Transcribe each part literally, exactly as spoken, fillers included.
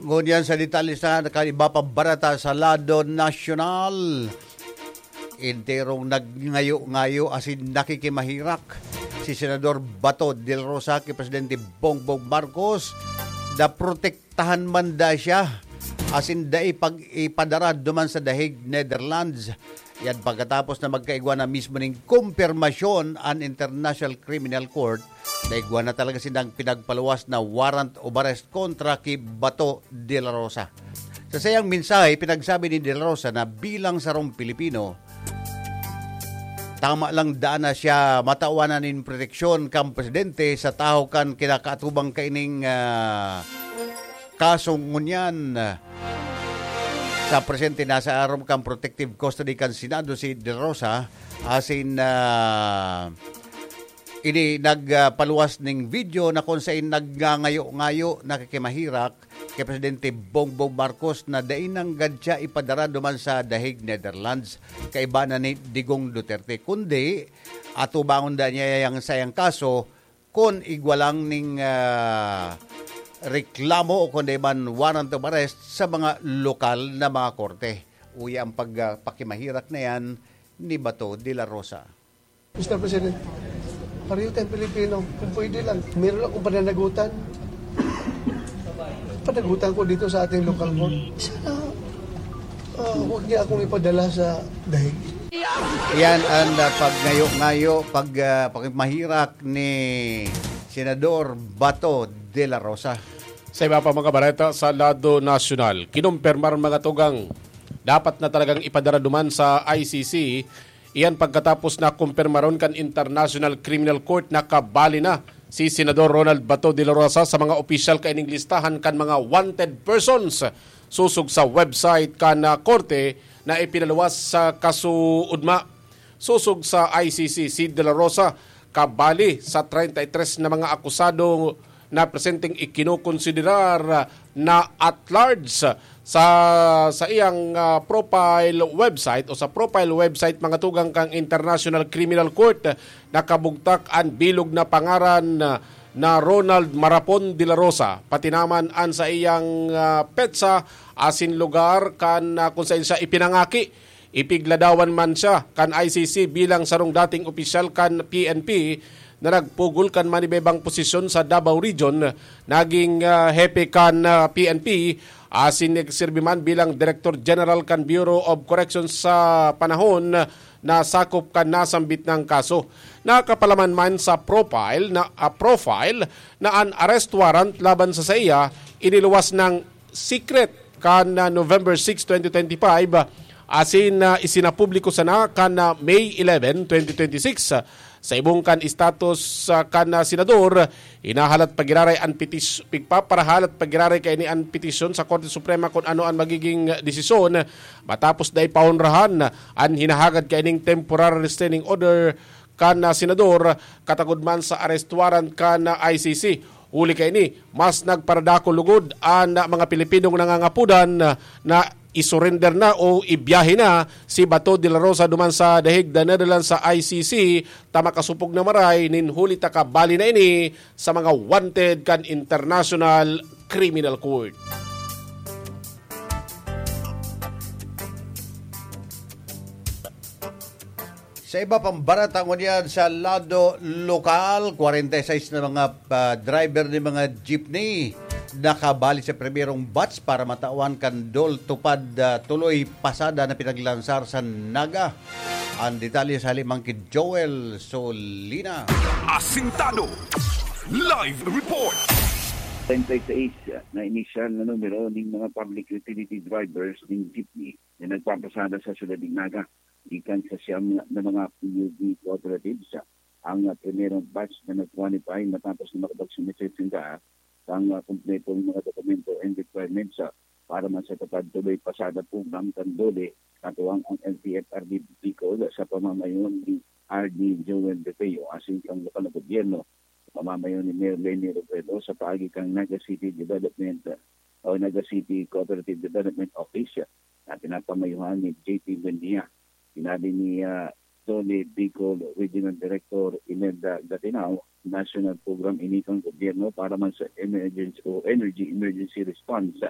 Ngunyan sa detalye sa nakaiba pang barata sa lado nasyonal. Enterong nagngayo-ngayo asin nakikimahirak si Senador Bato de la Rosa ki Presidente Bongbong Marcos na protektahan man da siya asin dai pag-ipadara duman sa The Hague, Netherlands. Yan pagkatapos na magkaigwa na mismo ning kumpirmasyon an International Criminal Court na igwa na talaga sindang pinagpaluwas na warrant of arrest kontra ki Bato de la Rosa. Sa sayang mensahe, pinagsabi ni De La Rosa na bilang sarong Pilipino, tama lang daan na siya matawan na nin proteksyon kan presidente sa tahaw kan kinakaatubang kaining, ah, kaso ngunyan. Sa presente, nasa aram kan protective custody kan Senado si De La Rosa, asin, ah, ini nagpaluwas ning video na kung sain nagngangayo-ngayo, nakikimahirak ki Presidente Bongbong Marcos na dai nanggad siya ipadara duman sa The Hague, Netherlands, kaiba na ni Digong Duterte, kundi atubangon da niya yang sayang kaso kun igwa lang ning, ah, reklamo o kundi man warrant of arrest sa mga lokal na mga korte. Uya ang pag, ah, pakimahirak na yan ni Bato de la Rosa. Mister President, pareho tayong Pilipino. Kung pwede lang, meron akong pananagutan. Panagutan ko dito sa ating local court. Sana, ah, huwag niya akong ipadala sa The Hague. Yan ang, ah, pagngayo-ngayo, pag, ah, pakimahirak ni Senador Bato de la Rosa. Sa iba pa mga bareta sa lado nasyonal, kinumpirmar mga tugang, dapat na talagang ipadara duman sa I C C. Iyan pagkatapos na kumpirmaron kan International Criminal Court na kabali na si Senador Ronald Bato de la Rosa sa mga opisyal kaining listahan kan mga wanted persons sosog sa website kan, ah, korte na ipinaluwas sa kasuodma. Sosog sa I C C, si De La Rosa kabali sa treinta y tres na mga akusado na presenteng ikinokonsiderar na at large sa, sa iyang, ah, profile website o sa profile website mga tugang kan International Criminal Court. Nakabugtak an bilog na pangaran na, na Ronald Marapon de la Rosa, pati naman an sa iyang, ah, petsa asin lugar kan, ah, kung saen siya ipinangaki. Ipigladawan man siya kan I C C bilang sarong dating opisyal kan P N P na nagpugol kan manibebang posisyon sa Davao Region, naging, ah, hepe kan, ah, P N P, asin nagsirbi man bilang Director General kan Bureau of Corrections sa panahon na sakop kan nasambit nang kaso. Nakapalaman man sa profile na, ah, profile na an arrest warrant laban sa saiya iniluwas nang secret kan, ah, November six, twenty twenty-five, ah, asin, ah, isinapubliko sana kan, ah, May eleven, twenty twenty-six. Sa ibong kan status, ah, kan, ah, senador, hinahalat pagiraray an petis-, pigpaparahalat pagiraray kaini an petisyon sa Korte Suprema kun ano an magiging desisyon matapos dai paonrahan an hinahagad kaining temporary restraining order kan, ah, senador, katagod man sa arrest warrant kan, ah, I C C. Huli kaini, mas nagparadako lugod an, ah, mga Pilipinong nangangapodan, ah, na isurrender na o ibiyahe na si Bato de la Rosa duman sa The Hague, The Netherlands, sa I C C, ta makasupog na maray nin huli ta kabali na ini sa mga wanted kan International Criminal Court. Sa iba pang barata ngunyan sa lado lokal, kwarenta y seis na mga, ah, driver ni mga jeepney nakabali sa primerong batch para matawan kan DOLE TUPAD, ah, tuloy pasada na pinaglansar sa Naga. Ang detalye sa halimang ki Joel Solina. Asintado. Live report. Treinta y seis na inisyal na numero ning mga public utility drivers ning jeepney na nagpapasada sa siyudad nin Naga, gikan sa siyam na mga P U D cooperatives, ang primerong batch na nag-qualify matapos na makapag-submit sinda ang, ah, kumpletong mga dokumento and requirements, ah, para man sa TUPAD tuloy pasada program kan DOLE, katuwang ang L T F R D Bicol sa pamamayo ni R D Joel Defeo asin kan lokal na gobyerno, sa pamamayo ni Mayor Leni Robredo sa paagi kan Naga City Development, ah, o Naga City Cooperative Development Office na pinapamayuhan ni J P Buendia. Sinabi ni, ah, DOLE Bicol Regional Director Imelda Gatinao, national program ini kan gobyerno para man sa emergency o energy emergency response.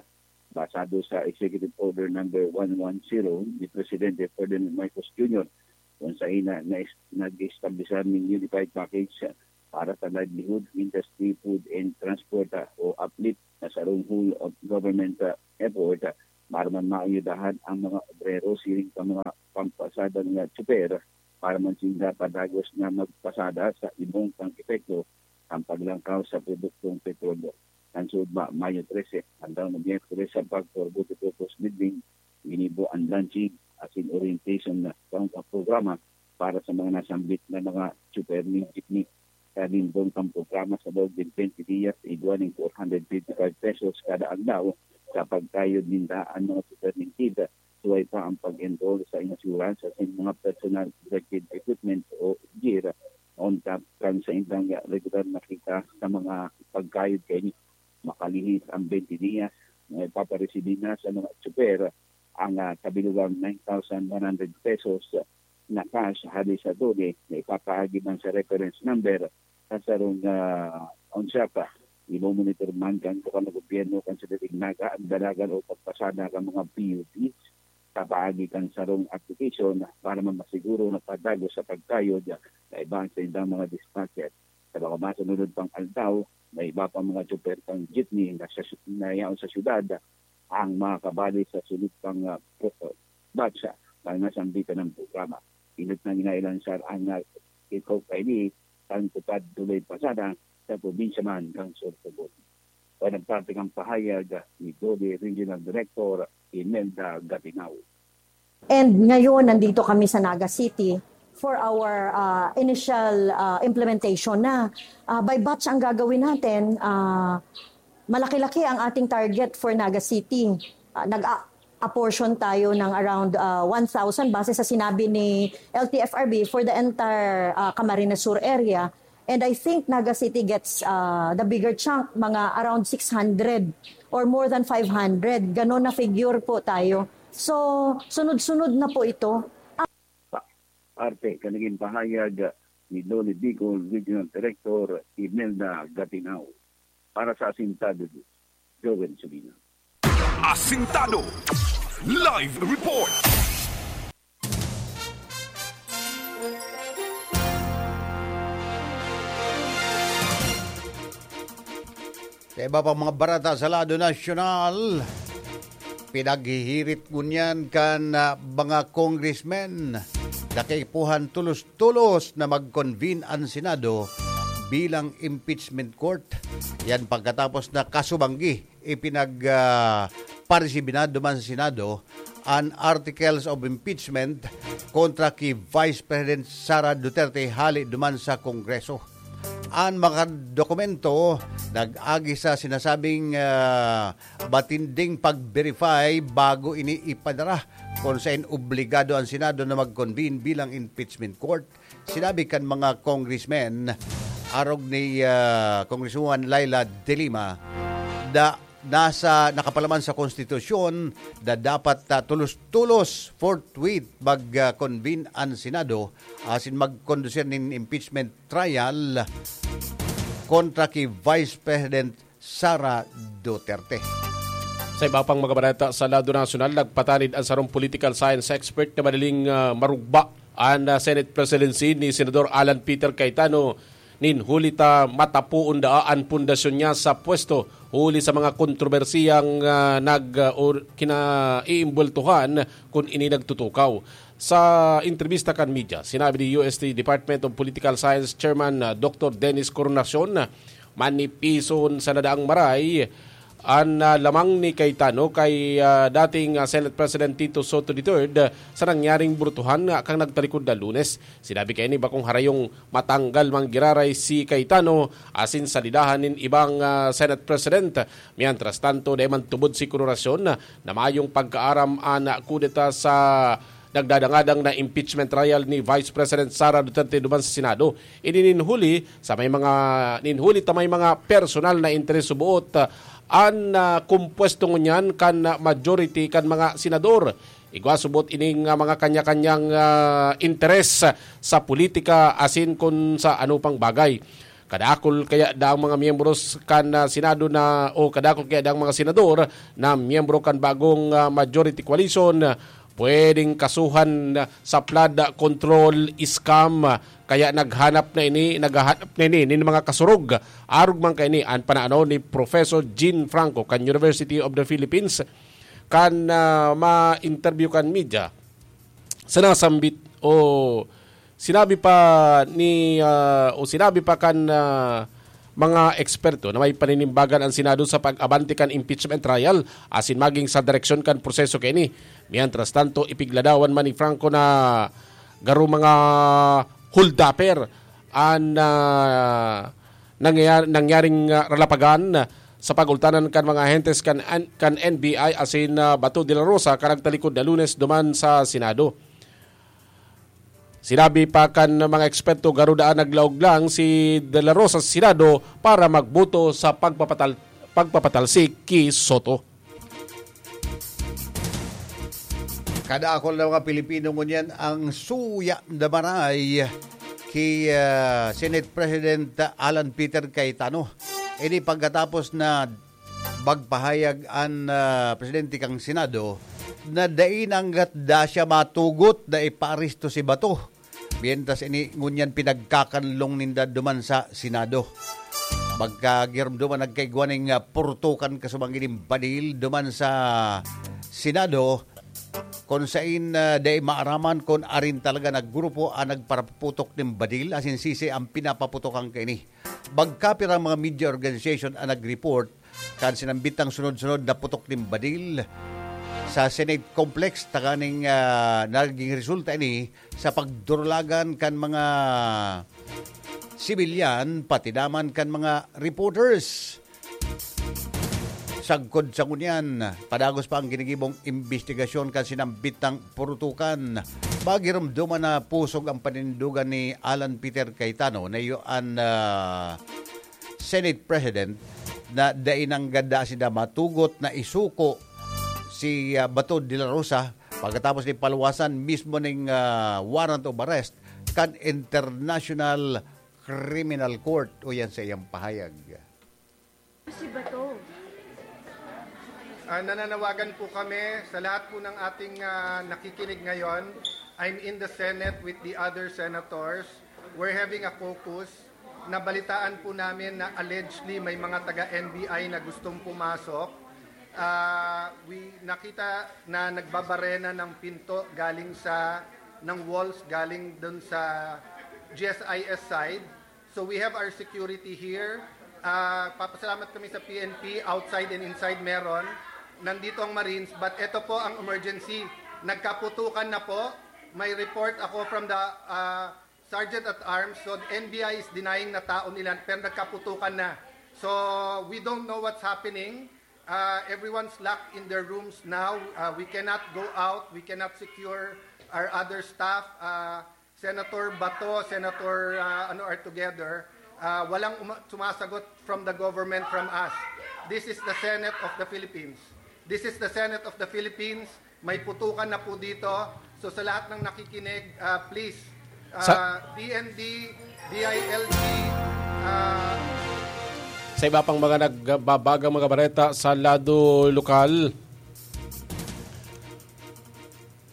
basado sa Executive Order Number one one zero ni Presidente Ferdinand Marcos Junior, kung saen na nais-, nag-establishar nin unified package para sa livelihood, industry, food and transport, ah, o uplift na sarong whole of government, ah, effort, ah, para man maayudahan ang mga obrero siring sa mga pampasadang nga tsuper para man sinda padagos na magpasada sa ibong pang-epekto ang paglangkaw sa produktong petrolyo. Kan suodma, Mayo trese, aldaw na Miyerkules, sa Pagpurbo de Burgos Building, ginibo ang launching asin orientation na sa programa para sa mga nasambit na mga tsuper nin jeepney. Sa limbong kan programa sa laog nin twenty diyas, igwa nin four hundred fifty-five pesos kada aldaw sa pagkayod ninda ang mga tsuper nin jeep. Suway pa ang pag-enroll sa insurance asin mga personal protective equipment o gear on top kan saindang regular na kita sa mga pagkayod kaini. Makalihis ang twenty diyas na ipaparesibi na sa mga tsuper ang, ah, kabilugang nine thousand one hundred pesos na cash hali sa DOLE na ipapaagi man sa reference number sa sarong, ah, onsyapa. Imomonitor man kan lokal na gobyerno kan Siyudad nin Naga ang dalagan o pagpasada kan mga P U Ds sa paagi kan sarong application para man masiguro na padagos sa pagkayod kaiba sa indang mga dispatcher. Sa mga masunod pang aldaw, may iba pang mga tsuper kan jeepney na sa, na yaon sa syudad ang makakabali sa sunod pang, ah, pro-, batch, ah, na nasambitan ng programa. Inot na ginailansar ang, ah, kickoff kaini kan Tupad Tuloy Pasada sa probinsya man kan Sorsogon. Panagpapikang pahayag ni DOLE Regional Director Imelda Gatinao. And ngayon, nandito kami sa Naga City for our, ah, initial, ah, implementation na. Ah, by batch ang gagawin natin. Ah, malaki-laki ang ating target for Naga City. Ah, nag-a-, apportion tayo ng around, ah, one thousand base sa sinabi ni L T F R B for the entire, ah, Camarines Sur area. And I think Naga City gets, ah, the bigger chunk, mga around six hundred or more than five hundred. Ganon na figure po tayo. So, sunod-sunod na po ito. Parte kan nagin pahayag ni DOLE Bicol Regional Director Imelda Gatinao. Para sa Asintado News, Joel Solina. Asintado Live Report. Sa iba pang mga barata sa lado nasyonal, pinaghihirit ngunyan kan, ah, mga congressmen na kaipuhan tolos-tolos na mag-convene an Senado bilang impeachment court. Yan pagkatapos na kasubanggi ipinag, ah, paresibi na duman sa Senado an articles of impeachment kontra ki Vice President Sara Duterte hali duman sa Kongreso. An mga dokumento nag-agi sa sinasabing, ah, matinding pag-verify bago ini ipadara, kung saen obligado an Senado na mag-convene bilang impeachment court. Sinabi kan mga congressmen, arog ni, ah, Congresswoman Leila de Lima, na nasa, nakapalaman sa konstitusyon na dapat, ah, tolos-tolos, forthwith, mag, ah, convene an Senado asin magkondusir nin impeachment trial kontra ki Vice President Sara Duterte. Sa iba pang mga balita sa lado nasyonal, nagpatanid ang sarong political science expert na madaling, ah, marugba an, ah, Senate presidency ni Senador Alan Peter Cayetano nin huli ta matapoon daa an pundasyon niya sa pwesto huli sa mga kontrobersiyang, ah, nag, ah, or kinaiimbweltuhan kun ini nagtutukaw. Sa entrebista kan media, sinabi ni U S T Department of Political Science Chairman, ah, Doktor Dennis Coronacion, manipison sa nadaang maray an, ah, lamang ni Cayetano kay, ah, dating, ah, Senate President Tito Sotto the third, ah, sa nangyaring brutuhan nga kan nagtalikod na Lunes. Sinabi kaini bakong harayong matanggal man giraray si Cayetano asin salidahan nin ibang, ah, Senate President. Mientras tanto, dai man tubod si Coronacion na mayong pagkaaram an kudeta sa nagdadangadang na impeachment trial ni Vice President Sara Duterte duman sa Senado. Ini nin huli sa may mga, nin huli ta may mga personal na interes suboot, ah, an, ah, kumpuesto ngunyan kan, ah, majority kan mga senador. Igwa suboot ining, ah, mga kanya-kanyang, ah, interes sa politika asin kun sa ano pang bagay. Kadakul kaya daang mga miyembros kan, ah, Senado na, o kadakul kaya daang mga senador na miyembro kan bagong, ah, majority coalition, pwedeng kasuhan sa flood control scam. Kaya naghanap na ini, naghahanap na ini nin mga kasurog. Arog man kaini an pananaw ni Professor Jean Franco kan University of the Philippines, kan, ah, ma-interview kan media. Sa nasambit o sinabi pa ni, ah, o sinabi pa kan, ah, mga eksperto na may paninimbagan ang Senado sa pag-abante kan impeachment trial asin maging sa direksyon kan proseso kaini. Mientras tanto, ipigladawan man ni Franco na garo mga holdupper an, ah, nangyayar-, nangyaring, ah, ralapagan sa pagultanan kan mga ahentes kan, kan N B I asin, ah, Bato de la Rosa kan nagtalikod na Lunes duman sa Senado. Sinabi pa kan mga eksperto, garo daan naglaog lang si De La Rosa sa Senado para magboto sa pagpapatal-, pagpapatalsik ki Soto. Kadakul na mga Pilipino ngunyan ang suya na maray ki, ah, Senate President Alan Peter Cayetano. Ini pagkatapos na magpahayag an, ah, presidente kan Senado na dai na anggat da siya matugot na ipaaresto si Bato. Mientras ini ngunyan pinagkakanlong ninda duman sa Senado. Magkagiromdoman nagkaigwa ning, ah, purtukan kasubang ining badil duman sa Senado, kun sain, ah, dai maaraman kun arin talaga na grupo ang nagparaputok nin badil, asin sisay ang pinapaputokan kaini. Magkapirang mga media organization ang nag-report kan sinambitang sunod-sunod na putok nin badil sa Senate Complex, tanganing, ah, naging resulta ini sa pagdurulagan kan mga sibilyan, pati naman kan mga reporters. Sagkod sa ngunyan, padagos pa ang ginigibong imbestigasyon kan sinambitang purutukan. Magiromdoman na pusog ang panindugan ni Alan Peter Cayetano na iyo an, ah, Senate President na dai nanggad da sinda matugot na isuko si, ah, Bato de la Rosa pagkatapos ni paluwasan mismo ning, ah, warrant of arrest kan International Criminal Court. O yan sa iyang pahayag. Si Bato. Ah, nananawagan po kami sa lahat po ng ating, ah, nakikinig ngayon. I'm in the Senate with the other senators. We're having a caucus. Nabalitaan po namin na allegedly may mga taga N B I na gustong pumasok. Ah, we nakita na nagbabarena ng pinto galing sa, ng walls galing dun sa G S I S side. So we have our security here. Ah, papasalamat kami sa P N P, outside and inside meron. Nandito ang Marines, but eto po ang emergency. Nagkaputukan na po. May report ako from the, ah, Sergeant at Arms. So the N B I is denying na tao nila, pero nagkaputukan na. So we don't know what's happening. Uh, everyone's locked in their rooms now. Uh, we cannot go out. We cannot secure our other staff. Uh, Senator Bato, Senator, uh, ano, are together. Uh, walang uma- sumasagot from the government, from us. This is the Senate of the Philippines. This is the Senate of the Philippines. May putukan na po dito. So sa lahat ng nakikinig, uh, please, uh, Sa- P N D, D I L G, uh, Sa iba pang mga nagbabagang mga bareta sa lado lokal,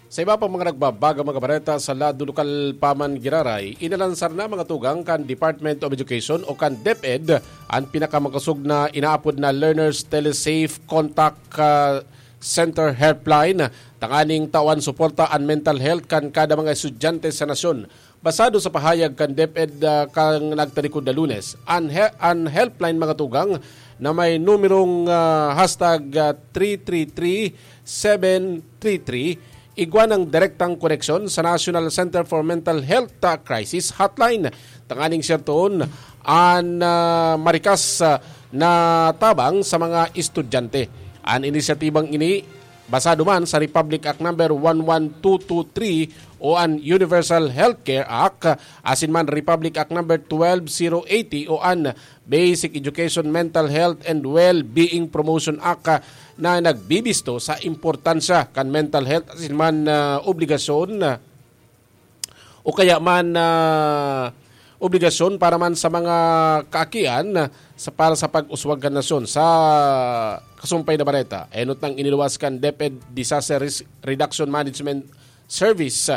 sa iba pang mga nagbabagang mga bareta sa lado lokal pa man giraray, inalansar na mga tugang kan Department of Education o kan DepEd an pinakamakosog na inaapod na Learners Telesafe Contact, ah, Center Helpline, tanganing tawan suporta an mental health kan kada mga estudyante sa nasyon. Basado sa pahayag kan DepEd, ah, kan nagtalikod na Lunes, an he-, an helpline, mga tugang, na may numerong, ah, hashtag, ah, three three three seven three three, igwa ng direktang koneksyon sa National Center for Mental Health, ah, Crisis Hotline. Tanganing sertoon an, ah, marikas, ah, na tabang sa mga estudyante. An inisyatibang ini basado man sa Republic Act Number one one two two three o an Universal Healthcare Act, asin man Republic Act Number twelve zero eighty o an Basic Education, Mental Health and Well-being Promotion Act, na nagbibisto sa importansya kan mental health asin man, ah, obligasyon, ah, o kaya man, ah, obligasyon para man sa mga kaakian sa, para sa pag-uswag kan nasyon. Sa kasumpay na bareta, enot nang iniluwas kan DepEd Disaster Risk Reduction Management Service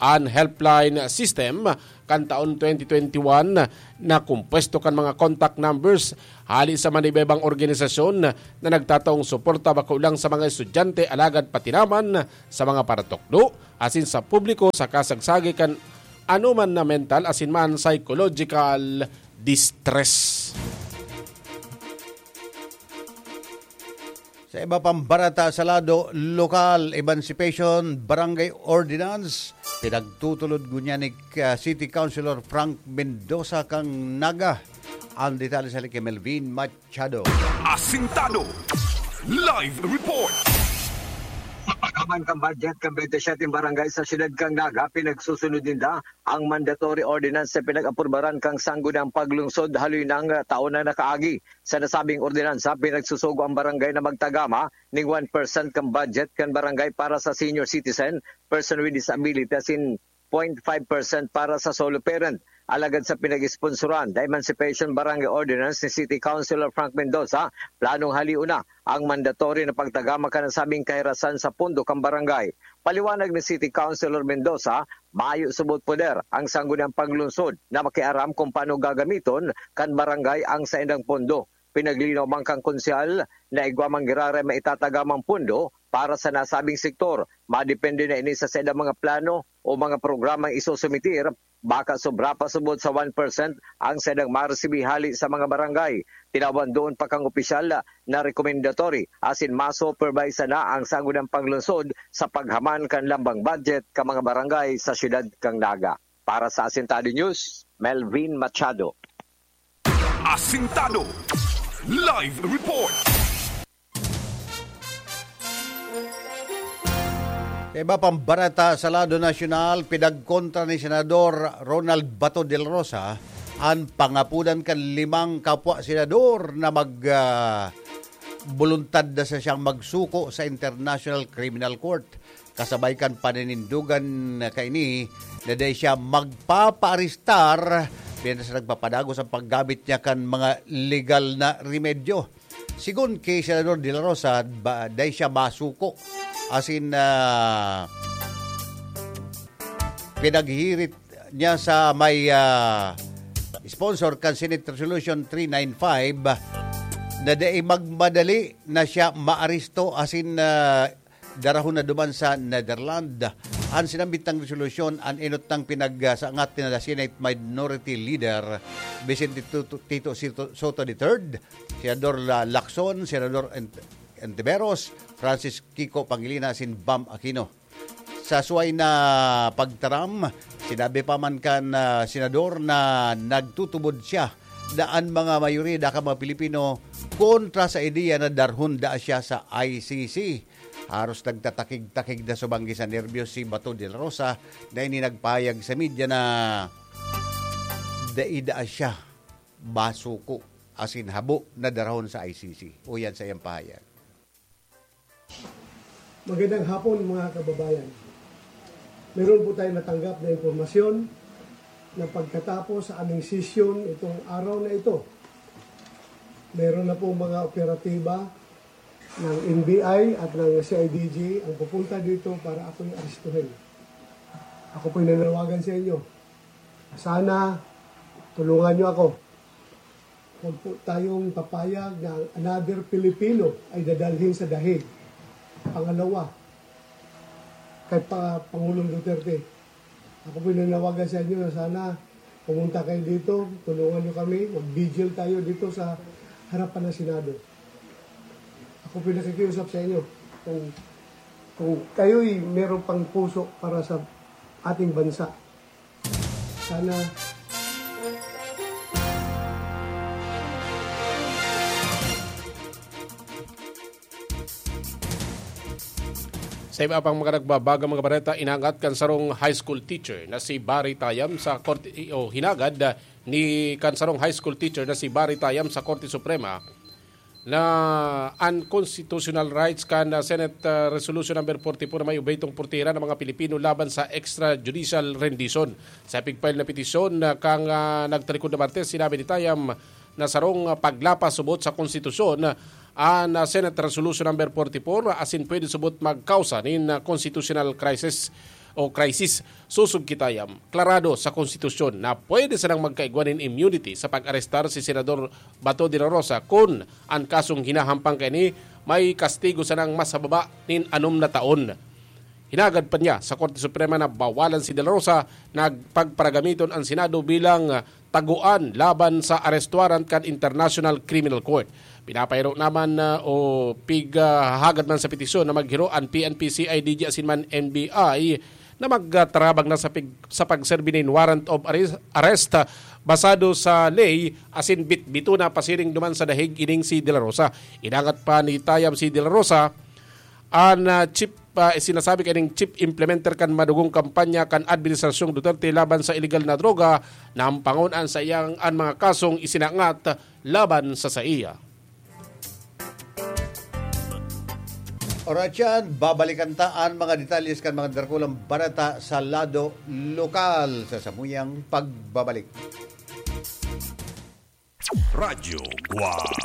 an helpline system kan taon twenty twenty-one na kumpuesto kan mga contact numbers hali sa manibaybang organisasyon na nagtataong suporta bako lang sa mga estudyante alagad pati naman sa mga paratukdo asin sa publiko sa kasagsagi kan anoman na mental asin man psychological distress. Sa iba pang bareta sa lado lokal, Emancipation Barangay Ordinance, pinagtutulod ngunyan ni, ah, City Councilor Frank Mendoza kan Naga. Ang detalye sa kay Melvin Machado. Asintado. Live report. Sa pagkaman kan budget kan twenty-seven barangay sa siyudad kan Naga, pinagsusunod ninda ang mandatory ordinance na pinag-aprubaran kan Sangguniang Paglungsod haloy nang taon na nakaagi. Sa nasabing ordinansa, pinagsusugo ang barangay na magtagama ning one percent kan budget kan barangay para sa senior citizen, person with disability, asin point five percent para sa solo parent. Alagad sa pinag-sponsoran na Emancipation Barangay Ordinance ni City Councilor Frank Mendoza, planong halion na ang mandatory na pagtagama kan nasabing kahirasan sa pondo kan barangay. Paliwanag ni City Councilor Mendoza, mayo subot poder ang Sangguniang Paglungsod na makiaram kung paano gagamiton kan barangay ang saindang pondo. Pinaglinaw man kan konsehal na igwa man giraray maitatagamang pondo para sa nasabing sektor. Madepende na ini sa saindang mga plano o mga programang isusumitir. Baka sobra pa subot sa one percent ang saindang maresibi hali sa mga barangay. Tinawan doon pa kang opisyal na rekomendatory asin masupervise na ang Sangguniang Paglungsod sa paghaman kan lambang budget kan mga barangay sa siyudad kan Naga. Para sa Asintado News, Melvin Machado. Asintado. Live report. Sa iba pang bareta sa lado nasyonal, pinagkontra ni Senador Ronald Bato de la Rosa an pangapodan kan limang kapwa senador na mag, ah, boluntad na sa siyang magsuko sa International Criminal Court. Kasabay kan paninindogan na kaini na dai siya magpapaarestar, biya na sa nagpapadagos ang paggamit niya kan mga legal na remedyo. Sigon ki Senador De La Rosa, ba, dai siya masuko. Asin, ah, pinaghirit niya sa may, ah, sponsor kan Senate Resolution three nine five na dai magmadali na siya maaresto asin, ah, darahon na duman sa Netherlands. An sinambit na resolusyon, an enot na pinagsangat ni Senate Minority Leader Vicente Tito, Tito Sito-, Soto the third, Senador La-, Lacson, Senador Ent-, Ontiveros, Francis Kiko Pangilinan asin Bam Aquino. Sa suway na pagtaram, sinabi pa man kan, ah, senador na nagtutubod siya na an mga mayoriya kan mga Pilipino kontra sa ideya na darhon daa siya sa I C C. Haros nagtatakig-takig na subanggi sa nerbiyos si Bato de la Rosa na ini nagpahayag sa media na dai daa siya masuko asin habo na darahon sa I C C. Uyan sa iyang pahayag. Magandang hapon, mga kababayan. Meron po tayong natanggap na impormasyon na pagkatapos sa aming sesyon itong araw na ito, meron na po mga operatiba ng N B I at ng C I D G ang pupunta dito para ako'y arestuhin. Ako po'y nananawagan sa inyo. Sana tulungan niyo ako. Huwag po tayong papayag na ang another Pilipino ay dadalhin sa dahig. Pangalawa, kay pa Pangulong Duterte, ako po'y nananawagan sa inyo na sana pumunta kayo dito, tulungan niyo kami, mag-vigil tayo dito sa harapan ng Senado. Ako po'y nakikiusap sa inyo, kung, kung kayo'y meron pang puso para sa ating bansa, sana. Sa iba pang mga nagbabagang mga bareta, inangat kan sarong high school teacher na si Barry Tayam sa Korte, o hinagad, ah, ni kan sarong high school teacher na si Barry Tayam sa Korte Suprema na unconstitutional rights kan, ah, Senate, ah, Resolution number forty-four na may ubaytong portira ng mga Pilipino laban sa extrajudicial rendition. Sa pigfile na petisyon na kang, ah, nagtalikod na Martes, sinabi ni Tayam na sarong, ah, paglapas subot sa konstitusyon, ah, an, ah, Senate Resolution number forty-four, asin pwede subot magkausa nin, ah, constitutional crisis o crisis. Susog ki Tayam, klarado sa konstitusyon na pwede sanang magkaigwa nin immunity sa pag-arestar si Senador Bato de la Rosa kun an kasong hinahampang kaini may kastigo sanang mas hababa nin anom na taon. Hinagad pa niya sa Korte Suprema na bawalan si De La Rosa na pagparagamiton an Senado bilang, ah, taguan laban sa arrest warrant kan International Criminal Court. Pinapahiro naman, ah, o pighahagad man sa petisyon na maghiro an P N P, C I D G asin man N B I na magtarabang na sa pig-, sa pagserbi nin warrant of arrest, arrest, ah, basado sa ley asin bitbito na pasiring duman sa dahig ining si De La Rosa. Inangat pa ni Tayam si De La Rosa, an, ah, chief, ah, sinasabi kaning chief implementer kan madugong kampanya kan Administrasyong Duterte laban sa iligal na droga, na ampangon an saiyang an mga kasong isinangat laban sa saiya. Oras yan, babalikan ta an mga detalles kan mga drakulang bareta sa lado lokal sa samuyang pagbabalik. Radyo Guwang.